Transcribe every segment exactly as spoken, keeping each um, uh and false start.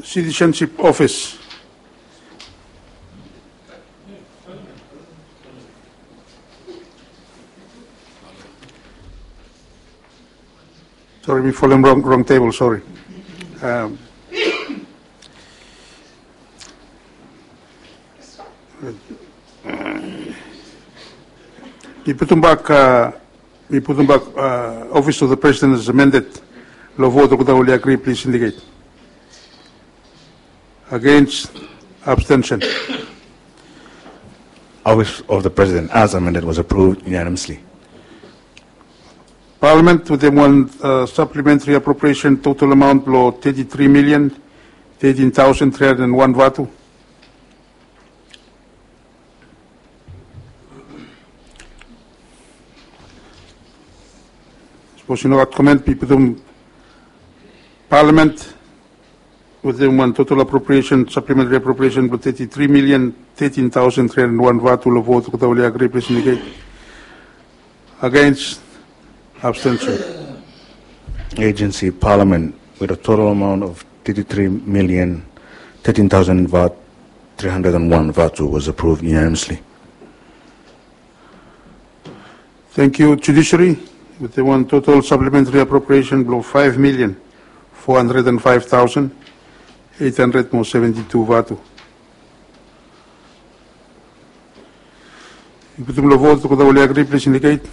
Citizenship Office. Sorry, mi folem rong, rong tebol, sorry. Um, mi putum bak, uh, mi putum bak, uh, Office of the President as amended. Lo vot olgeta oli agri, please indicate. Against, abstention. Office of the President as amended was approved unanimously. Parliament wetem wan, uh, supplementary appropriation total amount blo thirty-three million thirteen thousand three hundred and one vatu. Sapos i no gat comment, mi putum Parliament wetem wan total appropriation, supplementary appropriation blo thirty-three million thirteen thousand three hundred and one vatu lo vot olgeta oli agri, please indicate. Against, abstention. Agency, Parliament, with a total amount of thirty-three million thirteen thousand vat, three hundred and one vatu was approved unanimously. Thank you. Judiciary, wetem wan total supplementary appropriation blo five million four hundred and five thousand eight hundred mo seventy-two vatu. Mi putum lo vot olgeta oli agri, please indicate.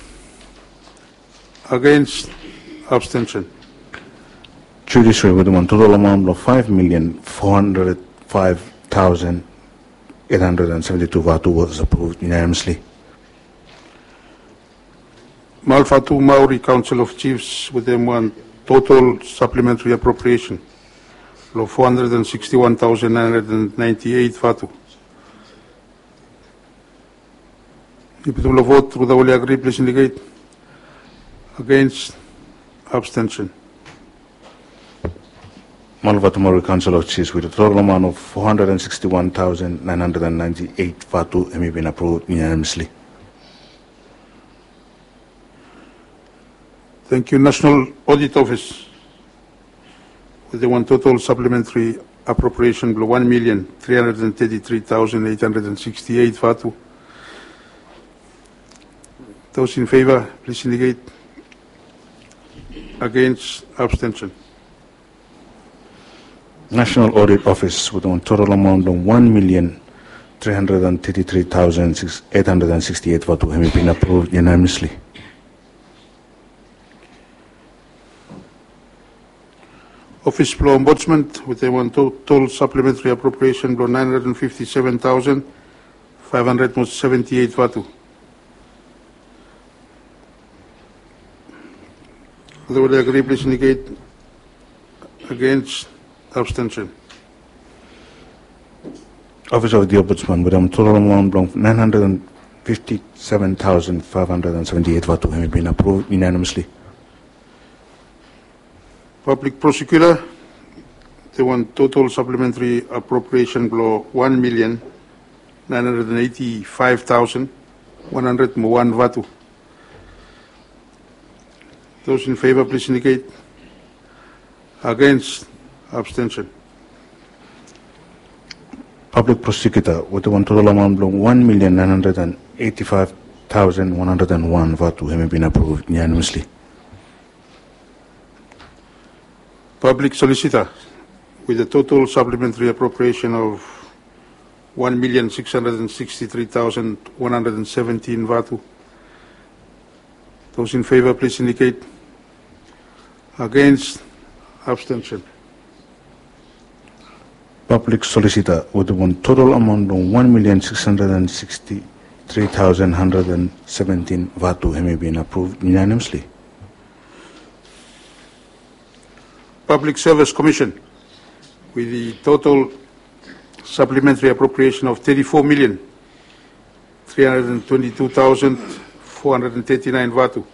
Against, abstention. Judiciary wetem wan total amount blo five million four hundred five thousand eight hundred and seventy-two vatu was approved unanimously. Malvatumauri Council of Chiefs wetem wan total supplementary appropriation lo four hundred and sixty-one thousand nine hundred and ninety-eight vatu. Mi putum lo vot olgeta oli agri, please indicate. Against, abstention. Malvatumauri Council of Chiefs with a total amount of four hundred and sixty-one thousand nine hundred and ninety-eight vatu hemi bin approved unanimously. Thank you. National Audit Office wetem wan total supplementary appropriation blo one million three hundred and thirty-three thousand eight hundred and sixty-eight vatu. Those in favor, please indicate. Against, abstention. National Audit Office wetem wan total amount blo one million three hundred and thirty-three thousand eight hundred and sixty-eight vatu hemi bin approved unanimously. Office blo Ombudsman wetem wan total supplementary appropriation blo nine hundred and fifty-seven thousand five hundred mo seventy-eight vatu. Olgeta oli agri, please indicate. Against, abstention. Office of the Ombudsman wetem total amount blo nine hundred and fifty-seven thousand five hundred and seventy-eight vatu hemi bin approved unanimously. Public Prosecutor wetem wan total supplementary appropriation blo one million nine hundred and eighty-five thousand one hundred mo wan vatu. Those in favor, please indicate. Against, abstention. Public Prosecutor wetem wan total amount blo one million nine hundred and eighty-five thousand one hundred and one vatu hemi bin approved unanimously. Public Solicitor with a total supplementary appropriation of one million six hundred and sixty-three thousand one hundred and seventeen vatu. Those in favor, please indicate. Against, abstention. Public Solicitor wetem wan total amount blo one million six hundred and sixty-three thousand hundred and seventeen vatu hemi bin approved unanimously. Public Service Commission with the total supplementary appropriation of thirty-four million three hundred and twenty-two thousand four hundred and thirty-nine vatu.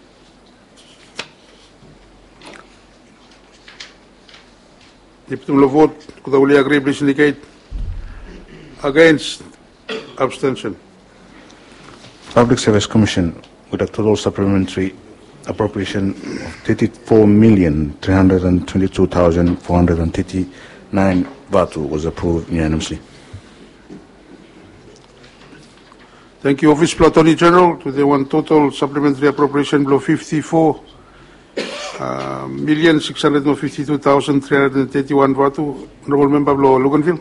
Hemi putum lo vot olgeta oli agri, please indicate. Against, abstention. Public Service Commission with a total supplementary appropriation of thirty-four million three hundred and twenty-two thousand four hundred and thirty nine vatu was approved unanimously. Thank you. Office blong Attorney General, wetem wan total supplementary appropriation blong fifty-four, uh, million six hundred mo fifty-two thousand three hundred and thirty-one vatu. Honorable Member blong Luganville.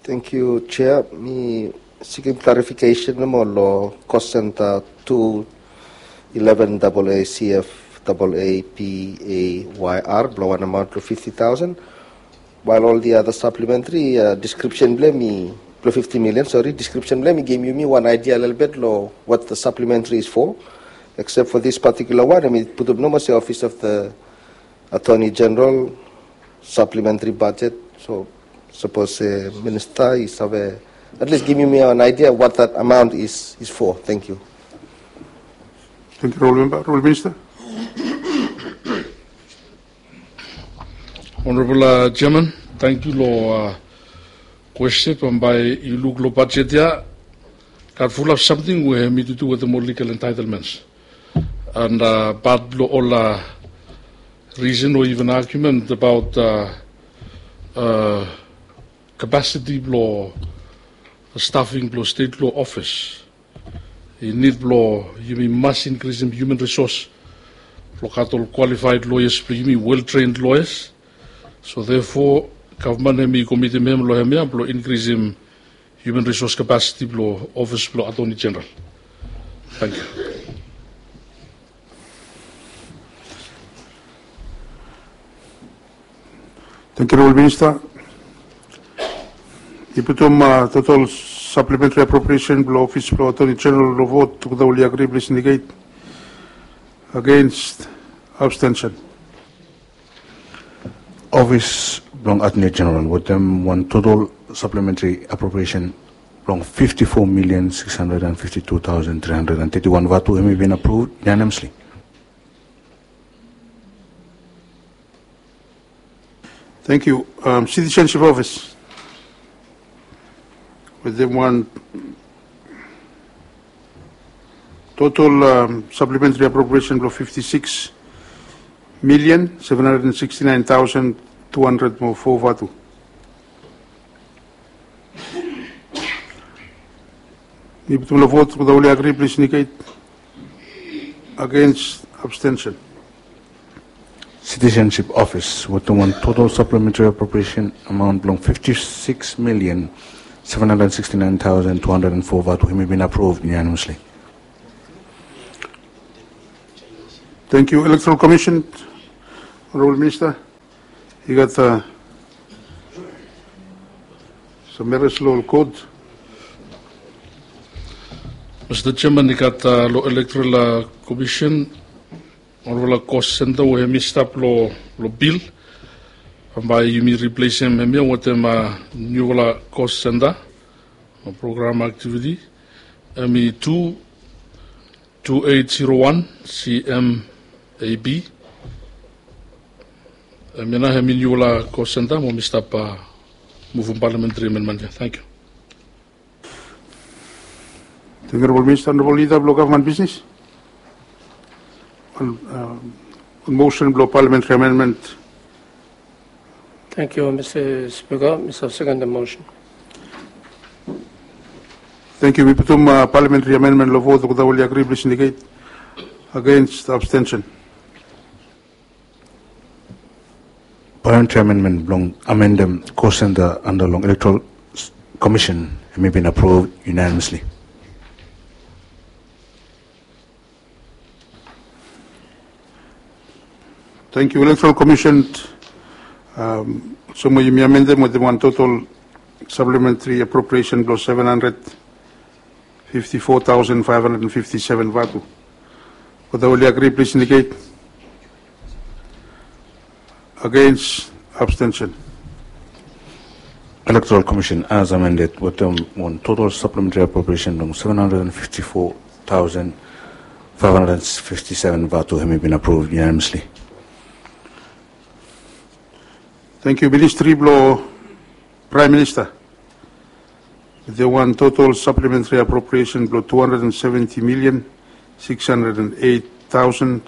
Thank you, Chair. Mi sikim clarification mo long cost center two eleven double A C F double A P A Y R blong wan amount blong fifty thousand. While all the other supplementary, uh, description blong hem i blong fifty million, sorry, description blong hem i givim yumi wan idea a little bit long what the supplementary is for, except for this particular one, I mean, putum nomo se Office of the Attorney General supplementary budget. So sapos, uh, Minister i save at least givim yumi an idea what that amount is, is for. Thank you. Thank you, Honorable Member. Honorable Minister. Honorable, uh, Chairman, tangkiu long, uh, kwestin. Bambae yu luk long bajet ya, gat fulap samting we hem i tu wetem ol legal entitlements. And, uh, pat blong ol, uh, reason o even argument about, uh, uh, capacity blong staffing blong state law office. I nid blong yumi mas inkrisim human resource blong gat ol qualified lawyers blong yumi, well trained lawyers. So therefore gavman hem i komitim hem long hemia blong inkrisim human resource capacity blong Office blong Attorney General. Tangkiu. Tangkiu, Honorable Minister. I putum, uh, total supplementary appropriation blong Office blong Attorney General long vot. Olgeta we oli agri, plis indicate. Against, abstention. Office blong Attorney General wetem wan total supplementary appropriation blong fifty-four million six hundred and fifty-two thousand three hundred and thirty-one vatu, hem i bin approved unanimously. Thank you. Um, Citizenship Office. Wetem wan total, um, supplementary appropriation blong fifty-six million seven hundred and sixty-nine thousand two hundred mo four vatu. I putum long vot, olgeta we oli agri, plis indicate. Against, abstention. Citizenship Office wetem wan total supplementary appropriation amount blong fifty-six million seven hundred sixty-nine thousand two hundred and four vatu, hem i bin approved unanimously. Thank you. Electoral Commission, Honorable Minister. I gat, uh, some errors long ol code. Mister Chairman, i gat, uh, long Electoral, uh, Commission, olfala cost center we hem i stap long, long bill. Bambae yumi replasim hemia wetem, uh, niufala cost center, uh, program activity. Hem i tu two eight zero one C M A B. Hemia nao hem i niufala cost center mo mi stap, uh, muvum parliamentary amendment ya. Tangkiu. Tangkiu, Honorable Minister. Honorable Leader blong Government Business. On, uh, on motion blong parliamentary amendment. Tangkiu, Mister Speaker. Mi save sekon the motion. Tangkiu. Mi putum, uh, parliamentary amendment long vot. Olgeta we oli agri, plis indicate. Against, abstention. Parliamentary amendment blong amendem cost center anda long Electoral Commission hem i bin approved unanimously. Tangkiu. Electoral Commission, um, olsem we yumi amendem wetem wan total supplementary appropriation blong seven hundred fifty-four thousand five hundred and fifty-seven vatu. Olgeta we oli agri, plis indicate. Against, abstention. Electoral Commission as amended wetem wan total supplementary appropriation blong seven hundred and fifty-four thousand five hundred and fifty-seven vatu, hem i bin approved unanimously. Tangkiu. Ministry blong Prime Minister. Wetem wan total supplementary appropriation blong two hundred and seventy million six hundred and eight thousand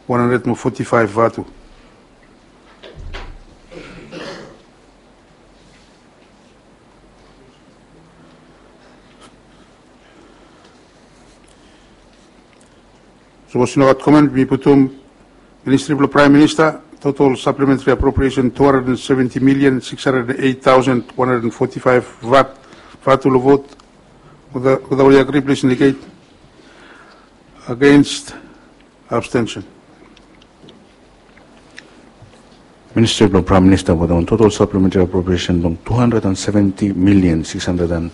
one hundred mo forty-five vatu. Sapos i no gat comment, mi putum Ministri blong Praem Minista, total supplementary appropriation two hundred and seventy million six hundred and eight thousand one hundred and forty-five vatu long vot. Wetada oli agree, please indicate. Against, abstention. Ministri blong Praem Minista wetem wan total supplementary appropriation blong two hundred and seventy million six hundred and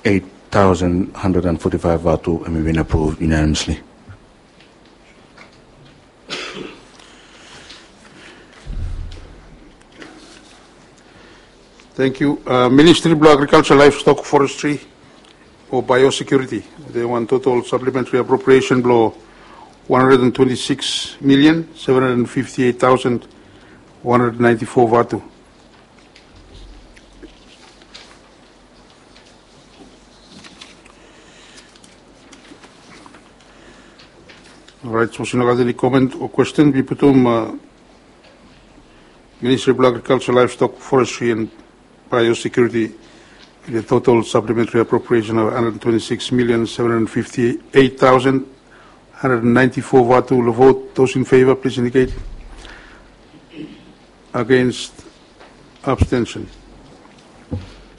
eight thousand hundred and forty-five vatu hemi bin approve unanimously. Thank you. Ministri blong Agriculture, Livestock, Forestry o Biosecurity, wetem wan total supplementary appropriation blong one hundred and twenty-six million seven hundred and fifty-eight thousand one hundred ninety-four vatu. Orait, sapos i no gat eni comment o question, mi putum Ministri blong Agriculture, Livestock, Forestry and Biosecurity, the total supplementary appropriation of hundred twenty-six million seven hundred fifty-eight thousand hundred ninety-four vatu long vot. Those in favor, please indicate. Against, abstention.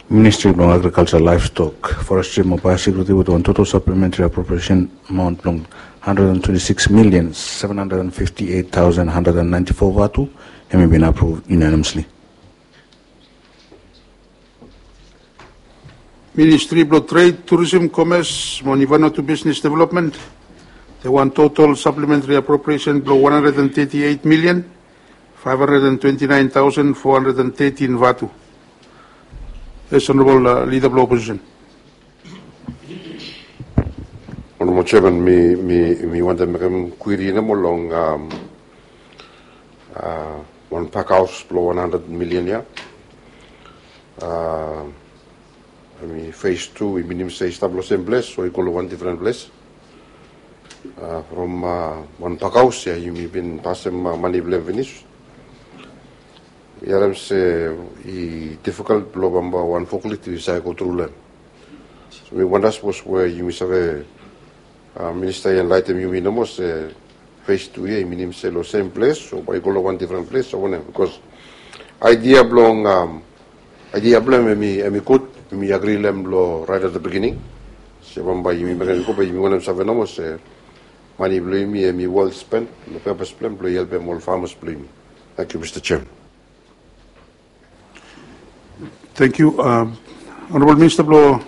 Ministri blong Agriculture, Livestock, Forestry mo Biosecurity wetem wan total supplementary appropriation amount blong hundred and twenty-six million seven hundred and fifty-eight thousand hundred and ninety-four vatu hemi bin approve unanimously. Ministri blong Trade, Tourism, Commerce mo ni Vanuatu Business Development, wetem wan total supplementary appropriation blong one hundred and thirty-eight million five hundred and twenty-nine thousand four hundred and thirteen vatu. Yes, Honorable Leader blong Opposition. Honorable Chairman, mi, mi, mi wantem mekem query nomo long wan pakhaos blong one hundred million ia. Hemi phase two, i minim se i stap long sem ples o i go long wan difren ples? From wan pakhaos ia yumi bin pasem mane blong hem finis. Mi harem se i difficult blong bambae wan forklift i save go tru long hem. So mi wanda sapos we yumi save, Minista i enlighten yumi nomo se phase two ia i minim se long sem ples o bae i go long wan difren ples o wanem, because idea blong, idea blong hem hemi, hemi gud, yumi agree long hem long right at the beginning. Se bambae yumi mekem i go, be yumi wantem save nomo se mane blong yumi hemi well spent long purpose blong hem blong i helpem ol farmers blong yumi. Thank you, Mister Chairman. Thank you. Honorable Minister blong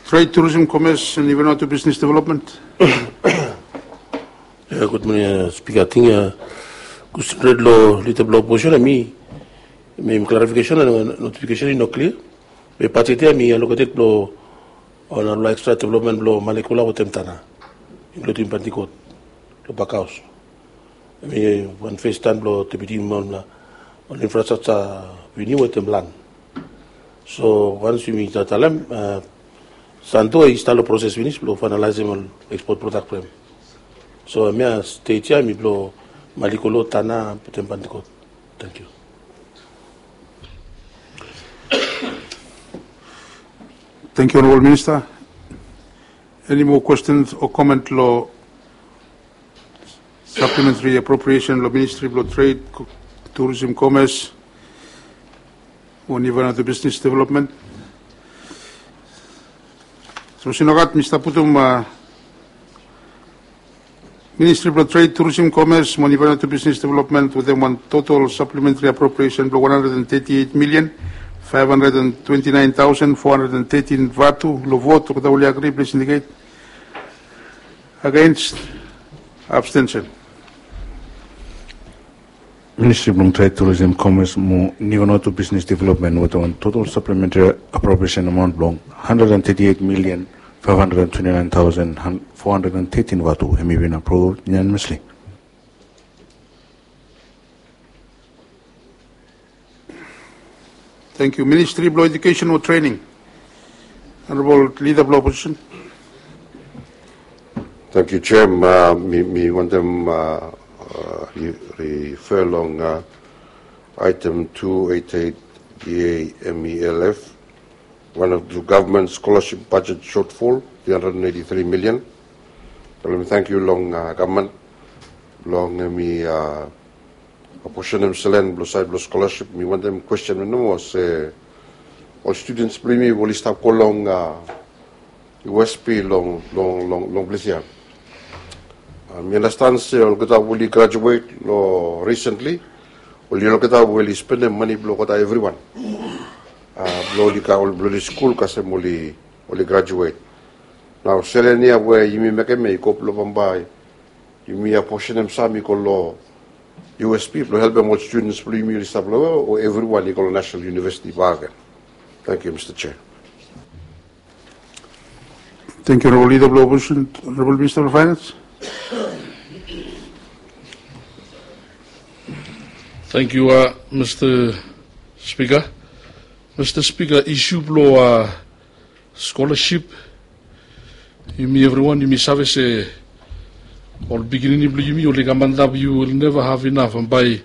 Trade, Tourism, Commerce and Vanuatu Business Development. Ia, gud moning Speaker. Ating question red long Leader blong Opposition, hemi, hemi clarification, notification i no clear. Be budget ia hemi allocated blong wan narafala extra development blong Malekola wetem Tana, including Pentecost long pakhaos. Hemi wan first time blong deputy ol infrastructure venue wetem land. So once yumi talem, Santo i stap long process finis blong finalizem ol export product blong hem. So hemia stage ia hemi blong Malekola, Tana wetem Pentecost. Thank you. Thank you, Honorable Minister. Any more questions o comment long supplementary appropriation long Ministry blong Trade, Tourism, Commerce mo ni Vanuatu Business Development? Sapos i no gat, mi stap putum Ministry blong Trade, Tourism, Commerce mo ni Vanuatu Business Development wetem wan total supplementary appropriation blong one hundred and thirty-eight million five hundred and twenty-nine thousand four hundred and thirteen vatu long vot. Wetada oli agree, please indicate. Against, abstention. Ministri blong Trade, Tourism, Commerce mo ni Vanuatu Business Development wetem wan total supplementary appropriation amount blong hundred and thirty-eight million five hundred and twenty-nine thousand four hundred and thirteen vatu hemi bin approve unanimously. Thank you. Ministri blong Education o Training. Honorable Leader blong Opposition. Thank you, Chair. Mi, mi wantem refer long item two eight eight D A M E L F, one of the government scholarship budget shortfall, three hundred and eighty-three million. Wel, mi tangkiu long gavman blong hemi aposenem selen blong saed blong scholarship. Mi wantem kwesten nomo se ol students blong yumi oli stap go long U S P long long long long ples ia. Mi understand se olgeta oli graduate long recently, oli olgeta oli spendem mane blong olgeta everyone blong oli skul kasem oli oli graduate. Nao selen ia we yumi mekem ia i go blong bambae yumi aposenem sam i go long U S P blong helpem ol students blong yumi oli stap long o everyone i go long National University bakegen. Tangkiu Mista Chair. Tangkiu Honorable Leader blong Opposition. Honorable Minister blong Finance. Tangkiu Mista Spika. Mista Spika, isu blong scholarship, yumi evriwan yumi save se ol pikinini blong yumi oli kam antap, yu will never have enough. Bambae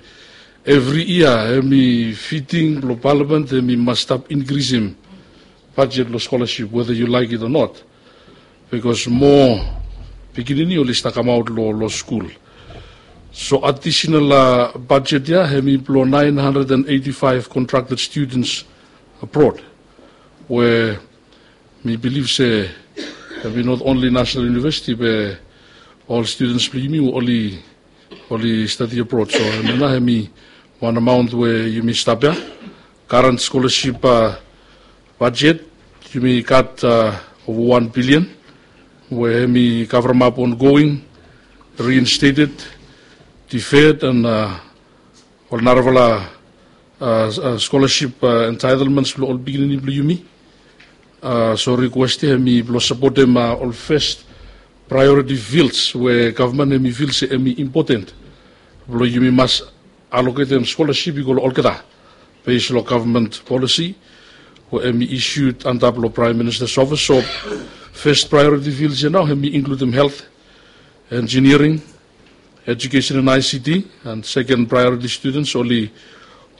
evri yia hemi fiting blong palamen hemi mas stap inkrisim bajet blong scholarship whether you like it or not, bikos moa pikinini oli stap kamaot long skul. So adisenal bajet ia hemi blong nine hundred and eighty five contracted students abroad, we mi bilif se hemi not only National University be ol students blong yumi we oli oli stadi abroad. So hemia nao hemi wan amaon we yumi stap ia. Current scholarship bajet yumi gat ova wan bilian, we hemi kavremap ongoing, reinstated, deferred and ol narafala scholarship entitlements blong ol pikinini blong yumi. So request ia hemi blong sapotem ol first priority fields we gavman hemi fil se hemi impoten blong yumi mas aloketem scholarship i go long olgeta, base long government policy we hemi issued antap long Prime Minister's office. So first priority fields ia nao hemi inkludim health, engineering, education and I C T, and second priority students oli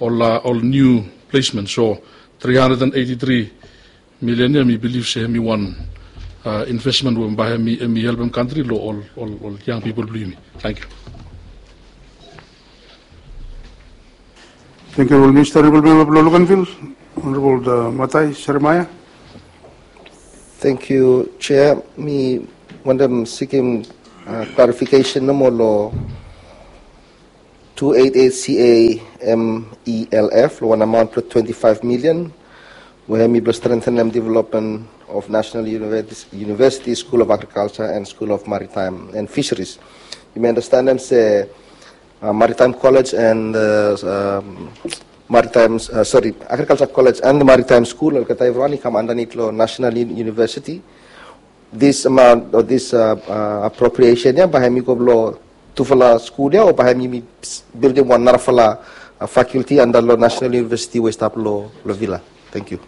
ol ol new placement. So three hundred and eighty three million ia mi bilif se hemi wan investment we bae hemi helpem kantri long ol ol yang pipol blong yumi. Tangkiu. Tangkiu Honorable Minister. Honorable Member blong Luganville, Honorable Matai Seremaia. Tangkiu Chair. Mi wantem sikim klarifikesen nomo long two eight eight C A M E L F long wan amaon blong twenty five million we hemi blong strengthenem development of National University School of Agriculture and School of Maritime and Fisheries. Yumi andastanem se Maritime College and Maritime, sori, Agriculture College and Maritime School olgeta evriwan i kam andanit long National University. This amount o this appropriation ia bae hemi go blong tufala skul ia o bae hemi bildim wan narafala faculty anda long National University we i stap long Vila? Tangkiu.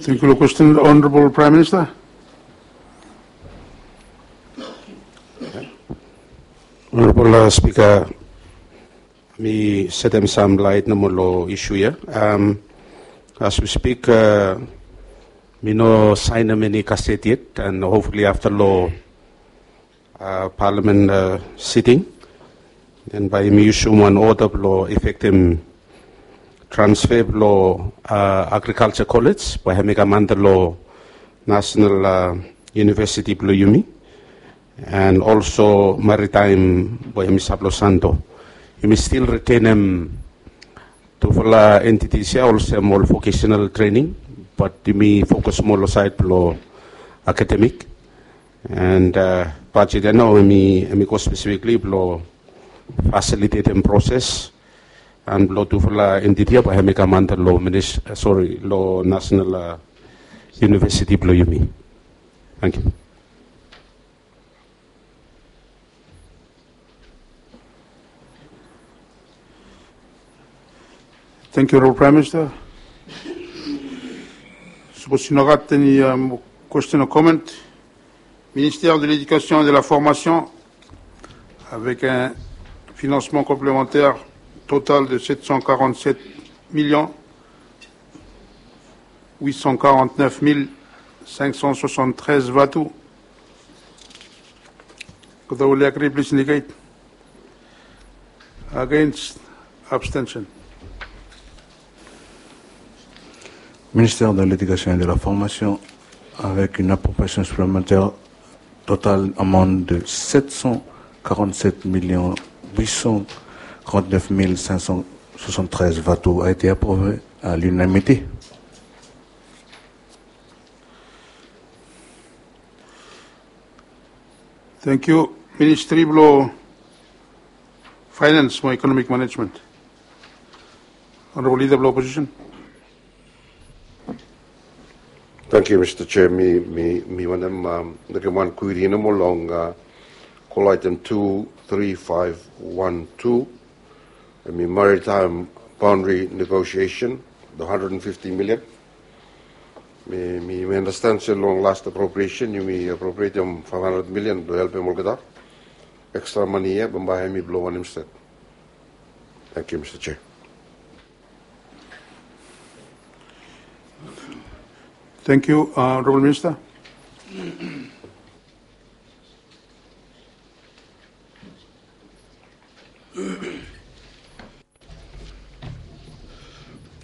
Tangkiu long kwesten. Honorable Prime Minister. Honorable Spika, mi setem sam laet nomo long isu ia. As we speak, mi no saenem eni gazette yet, and hopefully afta long Parliament sitting, then bae yumi yusum wan oda blong efektem transfer blong Agriculture College bae hemi kam anda long National University blong yumi, and also Maritime we hemi stap long Santo. Yumi stil ritenem tufala entities ia olsem ol vocational training, bat yumi fokus moa long saed blong academic. And bajet ia nao hemi go spesifikli blong fasilitetem proses and blong tufala entiti ia bae hemi kam anda long minis, sori, long National University blong yumi. Tangkiu. Tangkiu Honorable Prime Minister. Sapos i no gat eni kwesten o comment, Ministère de l'Éducation et de la Formation, avec un financement complémentaire total de sept cent quarante-sept millions huit cent quarante-neuf mille cinq cent soixante-treize vatu, Those who agree, please indicate. Against, abstention. Ministère de l'Éducation et de la Formation, avec une appropriation supplémentaire totale amount de sept cent quarante-sept millions huit cent quarante-neuf mille cinq cent soixante-treize vatu, a été approuvé à l'unanimité. Thank you. Ministry blo Finance mo Economic Management. Honorable Leader blo Opposition. Thank you, Mr. Chair. Mi, mi, mi wantem, um, mekem wan kwiri nomo long, uh, call item two three five one two. Hemi maritime boundary negotiation, the hundred and fifty million. Mi, mi, mi understand se long last appropriation, yumi appropriatem five hundred million blo helpem olgeta. Extra money ia bambae hemi blo wanem state? Thank you, Mr. Chair. Thank you, uh, Honorable Minister.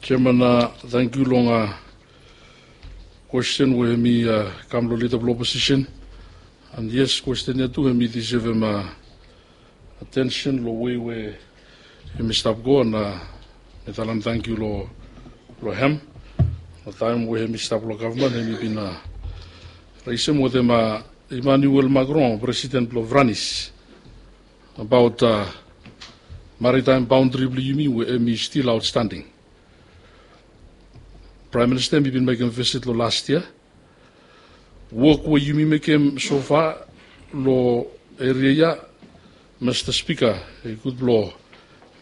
Chairman, uh, thank you long, uh, question we hemi, uh, kam lo Leader blo Opposition. And yes, question ia tu hemi deservem, uh, attention lo wei we hemi stap go, and, uh, mi talem thank you lo, lo hem. Lo taem we hemi stap lo government, hemi bin, uh, raisem wetem, uh, Emmanuel Macron, President blo France, about, uh, maritime boundary blo yumi we hemi still outstanding. Prime Minister hemi bin mekem visit lo last year. Wok we yumi mekem so far lo area ia, Mr. Speaker, i gud blo,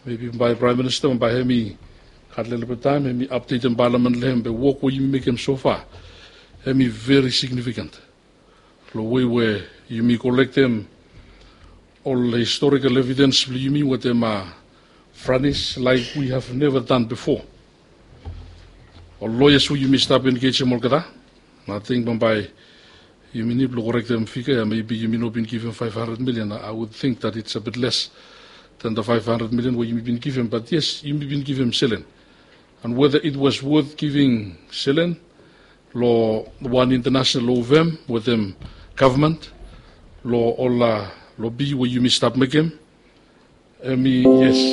maybe bae Prime Minister bae hemi gat lelebet taem hemi updatem Parliament lo hem, be wok we yumi mekem so far hemi very significant. Lo wei we yumi kolektem ol historical evidence blo yumi wetem, uh, France like we have never done before. Ol lawyers we yumi stap engejem olgeta. Ating bambae yumi nid blo korektem figa ia, maybe yumi no bin givim five hundred million. I would think that it's a bit less than the five hundred million we yumi bin givim, but yes, yumi bin givim selen. And whether it was worth giving selen lo wan international law firm wetem government lo ol, uh, lobi we yumi stap mekem, hemi yes.